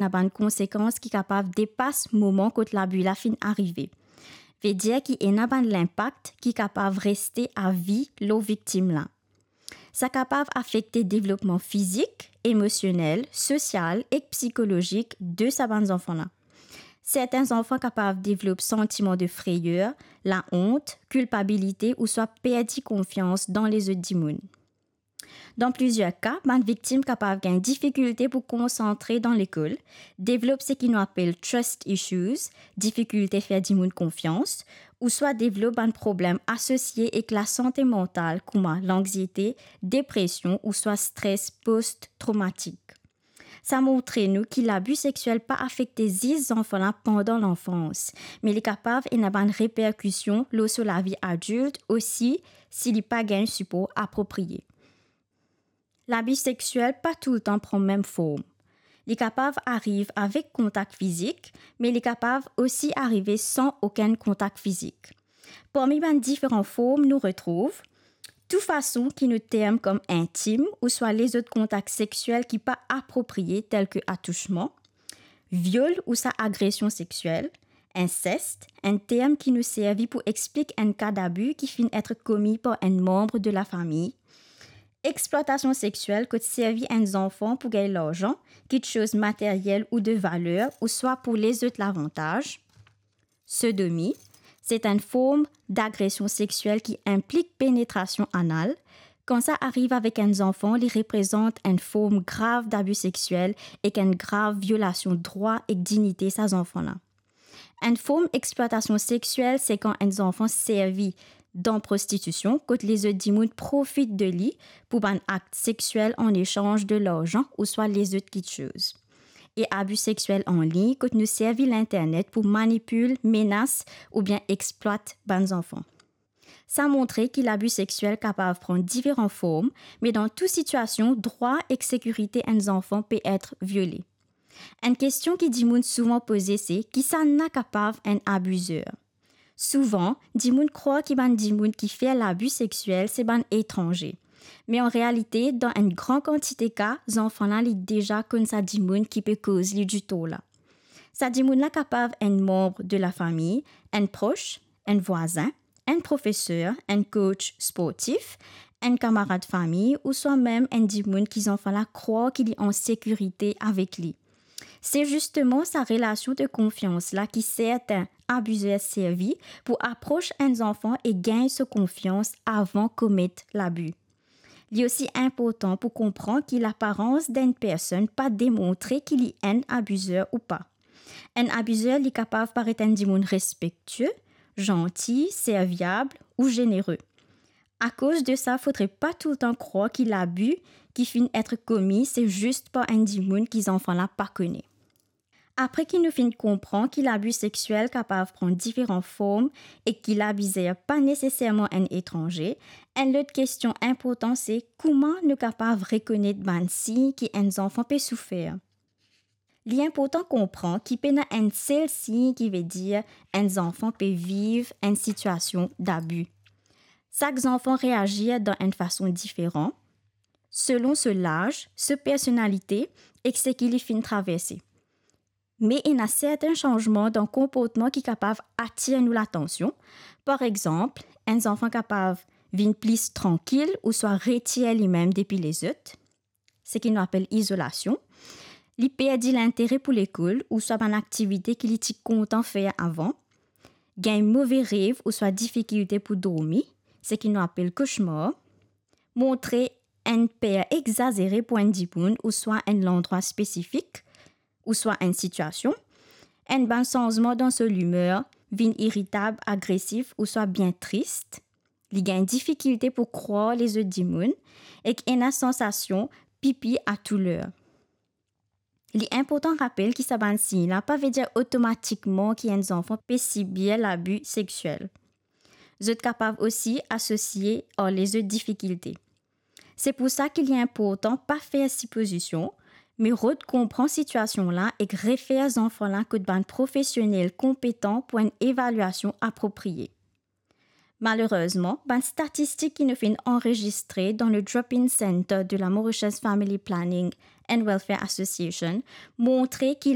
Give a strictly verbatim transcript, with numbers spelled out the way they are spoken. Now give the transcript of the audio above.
ena bann konsekans ki kapav depas moman kot labi la finn arive. Vedir ki ena bann linpak ki kapav reste avi lor viktim la. Sa kapav afekte devlopman fizik, emosionel, sosial ek psikolozik de sa bann zanfan la. Sertin zanfan kapav devlop santiman de freyer, laont, kilpabilite ouswa perdi konfians dan lezot dimoun. Dan plizier ka, bann viktim kapav gagn difikilte pou konsantre dan lekol, devlop seki nou apel trust issues, difikilte fer dimoun konfians, ouswa devlop bann problem asosie ek lasante mantal kouma lanxiete, depresion ouswa stres post-tromatik. Sa montre nou ki labi sexiel pa afekte zis zanfan la pandan lanfans, me li kapav ena bann reperkision lor so lavi adilt osi si li pa gagn sipor apropriye. Labi sexiel pa toultan pran mem form. Li kapav ariv avek kontak fizik, me li kapav osi arive san okenn kontak fizik. Parmi bann diferan form nou retrouv tou fason ki nou term kom intim ouswa lezot kontak sexiel ki pa apropriye, tel ki atousman, viol ouswa agresion sexiel, insest, enn term ki nou servi pou explik enn ka dabi ki finn et komi par enn manb de lafami, explwatasion sexiel kot servi enn zanfan pou gagn larzan, kitsoz materyel ou de valer, ouswa pou lezot lavantaz, sodomi, se enn form dagresion sexiel ki inplik penetrasion anal. Kan sa ariv avek enn zanfan, li reprezant enn form grav dabi sexiel ek enn grav violasion drwa ek dignite sa zanfan la. Enn form explwatasion sexiel se kan enn zanfan servi dan prostitision, kot lezot dimoun profit de li pou bann akt sexiel an esanz de larzan ouswa lezot kitsoz. E abi sexiel an lign, kot nou servi linternet pou manipil, menas oubien explwat bann zanfan. Sa montre ki labi sexiel kapav pran diferan form, me dan tou sitiasion, drwa ek sekirite enn zanfan pe et viole. Enn kestion ki dimoun souvan poze se, kisannla kapav enn abizer? Souvan, dimoun krwar ki bann dimoun ki fer labi sexiel se bann etranze. Me an realite, dan enn gran kantite ka, zanfan la li deza konn sa dimoun ki pe koz li ditor la. Sa dimoun la kapav enn manb de lafami, enn pros, enn vwazin, enn profeser, enn coach sportif, enn kamarad fami, ouswa mem enn dimoun ki zanfan la krwar ki li an sekirite avek li. Se zisteman sa relasion de konfians la ki sertin abizer servi pou apros enn zanfan e gagn so konfians avan komet labi. Li osi inportan pou konpran ki laparans d'enn personn pa demontre ki li enn abizer ou pa. Enn abizer li kapav paret enn dimoun respektie, zanti, serviab ou zenere. Akoz de sa, fodre pa toultan krwar ki labi ki finn et komi se zis par enn dimoun ki zanfan la pa kone. Apre ki nou finn konpran ki labi sexiel kapav pran diferan form e ki labizer pa neseserman enn etranze, enn lot kestion inportan se kouma nou kapav rekonet bann sign ki enn zanfan pe soufer. Li inportan konpran ki pena enn sel sign ki vedir enn zanfan pe viv enn sitiasion dabi. Sak zanfan reazir dan enn fason diferan, selon so laz, so personalite ek seki li finn traverse. Me ena sertin sanzman dan konportman ki kapav atir nou latansion. Par exanp, enn zanfan kapav vinn pli trankil ouswa retir limem depi lezot, seki nou apel izolasion. Li perdi lintere pou lekol ouswa bann aktivite ki li ti kontan fer avan. Gagn move rev ouswa difikilte pou dormi, seki nou apel koshmar. Montre enn per exazere pou enn dimoun ouswa enn landrwa spesifik, ouswa enn sitiasion. Enn bann sanzman dan so limer, vinn iritab, agresif ouswa bien tris. Li gagn difikilte pou krwar lezot dimoun ek ena sansasion pipi a tou ler. Li inportan rapel ki sa bann sign la pa vedir otomatikman ki enn zanfan pe sibir labi sexiel. Zot kapav osi asosie ar lezot difikilte. Se pou sa ki li inportan pa fer sipozision, me rod konpran sitiasion la ek refer zanfan la kot bann profesionel konpetan pou enn evalyasion apropriye. Malerezman, bann statistik ki nou finn anrezistre dan le Drop-In Center de la Mauritius Family Planning and Welfare Association montre ki